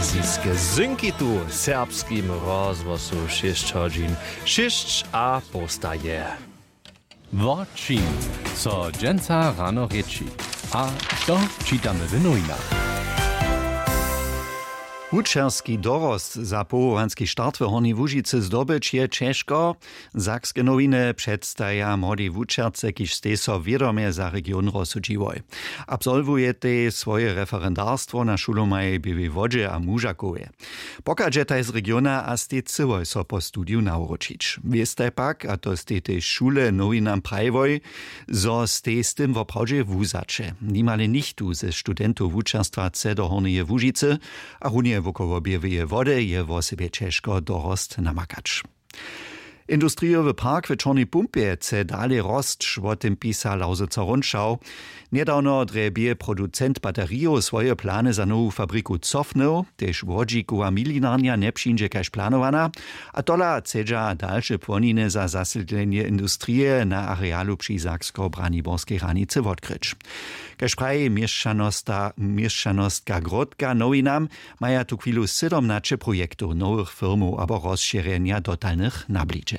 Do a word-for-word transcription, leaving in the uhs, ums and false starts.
Ziske zynki tu w serbskim rozhłosu šěsć hodźin šěsć a połsta je. Wo čim so dźensa rano rěči, a to čitamy w nowinach. Wučerski dorost za powołanski start w Hornjej Łužicy zdobyć je ćežko. Sakske nowiny předstaja młodej wučerce, kiž stej so wědomje za region rozsudźiłoj. Absolwujetej swoje referendarstwo na šulomaj w Běłej Wodźe a Mužakowje. Pochadźetaj z regiona a stej chcyłoj so po studiju nawróćić. Wěstaj pak, a to stej tež šule nowinam prajiłoj, zo stej z tym woprawdźe wuzaće. Nimale nichtó ze studentow wučerstwa chce do Hornjeje Łužicy a runje wokoło Běłeje Wody je wosebje ćežko dorost namakać. Industrijowy park w Čornej Pumpje chce dale rosć, wo tym pisa Lausitzer Rundschau. Njedawno drje bě producent baterijow swoje plany za nowu fabriku cofnył, tež łodźikowa milinarnja njepřińdźe kaž planowana, a tola chcedźa dalše płoniny za zasydlenje industrije na arealu při saksko-braniborskej hranicy wotkryć. Kaž praji měšćanostka grótka nowinam, maja tuchwilu sydomnaće projektow nowych firmow abo rozšěrjenja dotalnych na blidźe.